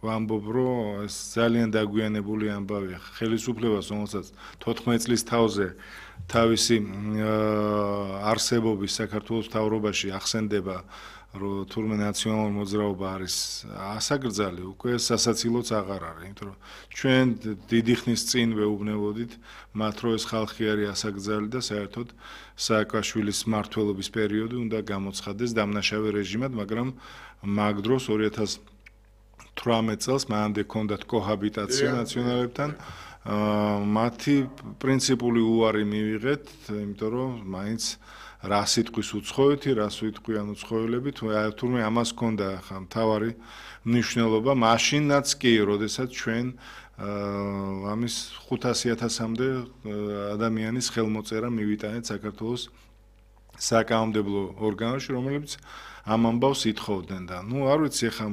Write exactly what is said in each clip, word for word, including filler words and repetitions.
ვამბობ, რომ ეს ძალიან დაგვიანებული ამბავია. ხელისუფლებას, რომელსაც თოთხმეტ წლის თავზე თავისი არსებობის საქართველოს მთავრობაში ახსენდება, რომ თურმე ნაციონალური მოძრაობა არის ასაკრძალი, უკვე სასაცილოც აღარ არის, იმიტომ რომ ჩვენ დიდი ხნის წინ ვეუბნებოდით მათ, რომ ეს ხალხი არის ასაკრძალი და საერთოდ სააკაშვილის მმართველობის პერიოდი უნდა გამოცხადდეს დამნაშავე რეჟიმად, მაგრამ მაგ დროს ორი ათას თვრამეტ წელს მანამდე ჰქონდათ კოჰაბიტაცია ნაციონალებთან, მათი პრინციპული უარი მივიღეთ, იმიტომ რომ მაინც რა სიტყვის უცხოეთი, რა სიტყვიან უცხოელებით, თურმე ამას ჰქონდა ხა მთავარი მნიშვნელობა, მაშინაც კი, როდესაც ჩვენ ამის ხუთასი ათასამდე ადამიანის ხელმოწერა მივიტანეთ საქართველოს საკანონმდებლო ორგანოში, რომლებიც ამ ამბავს ითხოვდნენ და ნუ არ ვიცი, ხა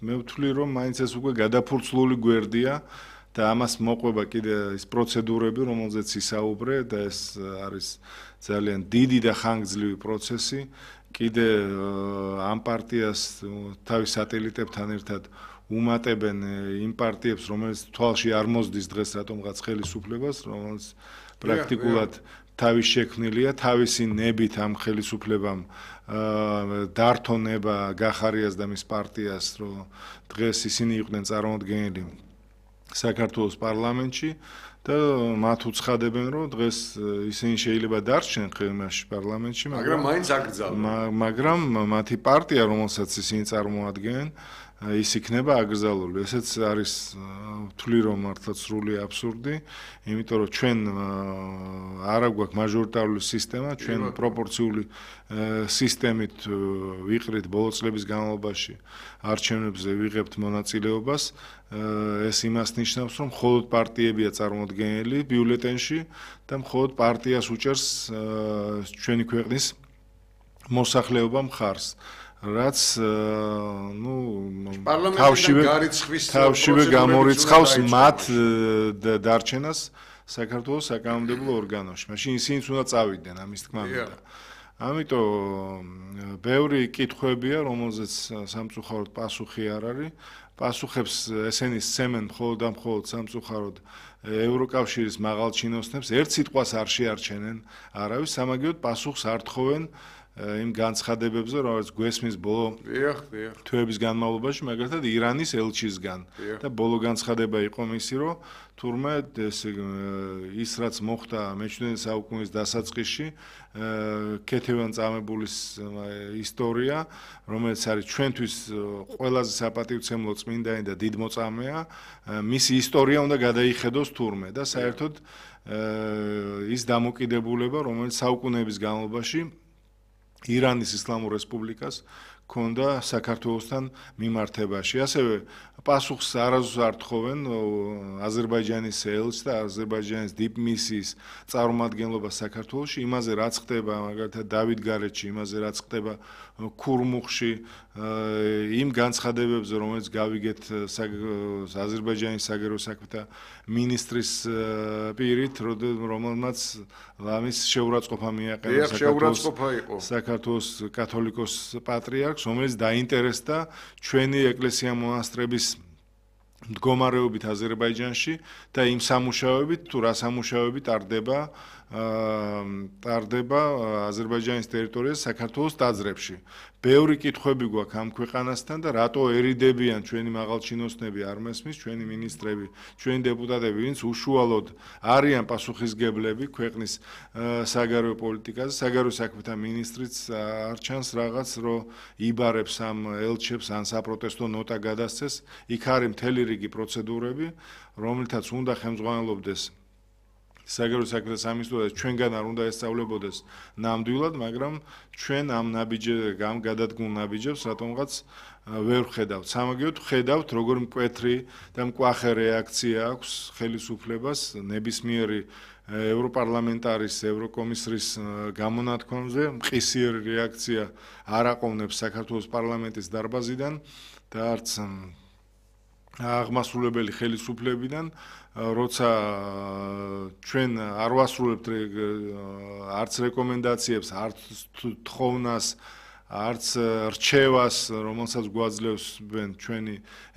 მე ვთვლი, რომ მაინც ეს უკვე გადაფურცლული გვერდია და ამას მოყვება კიდე ის პროცედურები, რომელზეც ისაუბრე და ეს არის ძალიან დიდი და ხანგრძლივი პროცესი. კიდე ამ პარტიას თავის სატელიტებთან ერთად უმატებენ იმ პარტიებს, რომელიც თვალში არ მოსდის დღეს რატომღაც ხელისუფლებას, რომელიც პრაქტიკულად თავის შექმნილია, თავისი ნებით ამ ხელისუფლებამ დართონება გახარიას და მის პარტიას, რომ დღეს ისინი იყვნენ წარმოდგენილი საქართველოს პარლამენტში და მათ უცხადებენ, რომ დღეს ისინი შეიძლება დარჩნენ ხელმაში პარლამენტში, მაგრამ მაინც აკრძალვენ. მაგრამ მათი პარტია, რომელსაც ისინი წარმოადგენენ, ის იქნება აკრძალული. ესეც არის ვთვლი, რომ მართლა სრული აბსურდი, იმიტომ რომ ჩვენ არ აგვაქვს მაჟორიტარული სისტემა, ჩვენ პროპორციული სისტემით ვიყრით ბოლო წლების განმავლობაში არჩევნებზე ვიღებთ მონაწილეობას. ეს იმას ნიშნავს, რომ მხოლოდ პარტიებია წარმოდგენილი ბიულეტენში და მხოლოდ პარტიას უჭერს ჩვენი ქვეყნის მოსახლეობა მხარს. რაც ნუ თავშივე თავშივე გამორიცხავს მათ დარჩენას საქართველოს საკანონმდებლო ორგანოში. მაშინ ისინიც უნდა წავიდნენ ამის თქმა მინდა. ამიტომ ბევრი კითხვებია, რომელზეც სამწუხაროდ პასუხი არ არის. პასუხებს ესენი სცემენ მხოლოდ და მხოლოდ სამწუხაროდ ევროკავშირის მაღალჩინოსნებს, ერთ სიტყვას არ შეარჩენენ არავის, სამაგიეროდ პასუხს არ თხოვენ იმ განცხადებებზე, რომელიც გვესმის ბოლო თვეების განმავლობაში, მაგალითად ირანის ელჩისგან და ბოლო განცხადება იყო მისი, რომ თურმე ის რაც მოხდა მეჩვიდმეტე საუკუნის დასაწყისში, ქეთევან წამებულის ისტორია, რომელიც არის ჩვენთვის ყველაზე საპატივცემლო წმინდანი და დიდმოწამეა, მისი ისტორია უნდა გადაიხედოს თურმე და საერთოდ ის დამოკიდებულება, რომელიც საუკუნეების განმავლობაში ირანის ისლამურ რესპუბლიკას ქონდა საქართველოსთან მიმართებაში. ასევე პასუხს არასდროს არ თხოვენ აზერბაიჯანის ელჩს და აზერბაიჯანის დიპმისიის წარმომადგენლობას საქართველოში, იმაზე რაც ხდება მაგალითად დავითგარეჯში, იმაზე რაც ხდება ქურმუხში, იმ განცხადებებზე, რომელიც გავიგეთ აზერბაიჯანის საგარეო საქმეთა მინისტრის პირით, რომელმაც ლამის შეურაცხყოფა მიაყენა საქართველოს კათოლიკოს პატრიარქს, რომელიც დაინტერესდა ჩვენი ეკლესია მონასტრების მდგომარეობით აზერბაიჯანში და იმ სამუშაოებით, თუ რა სამუშაოები ტარდება ტარდება აზერბაიჯანის ტერიტორიაზე საქართველოს ტაძრებში. ბევრი კითხვები გვაქვს ამ ქვეყანასთან და რატო ერიდებიან ჩვენი მაღალჩინოსნები არ მესმის, ჩვენი მინისტრები, ჩვენი დეპუტატები, ვინც უშუალოდ არიან პასუხისგებლები ქვეყნის საგარეო პოლიტიკაზე, საგარეო საქმეთა მინისტრიც არ ჩანს რაღაც, რომ იბარებს ამ ელჩებს ან საპროტესტო ნოტა გადასცეს, იქ არის მთელი რიგი პროცედურები, რომელთაც უნდა ხელმძღვანელობდეს საგარეო საქმეთა სამინისტრო ჩვენგან არ უნდა ესწავლებოდეს ნამდვილად, მაგრამ ჩვენ ამ ნაბიჯებს, ამ გადადგმულ ნაბიჯებს რატომღაც ვერ ვხედავთ. სამაგიეროდ ვხედავთ, როგორ მკვეთრი და მკვახე რეაქცია აქვს ხელისუფლებას ნებისმიერი ევროპარლამენტარის, ევროკომისრის გამონათქვამზე, მყისიერი რეაქცია არ აყოვნებს საქართველოს პარლამენტის დარბაზიდან და არც აღმასრულებელი ხელისუფლებიდან, როცა ჩვენ არ ვასრულებთ არც რეკომენდაციებს, არც თხოვნას, არც რჩევას, რომელსაც გვაძლევს ჩვენი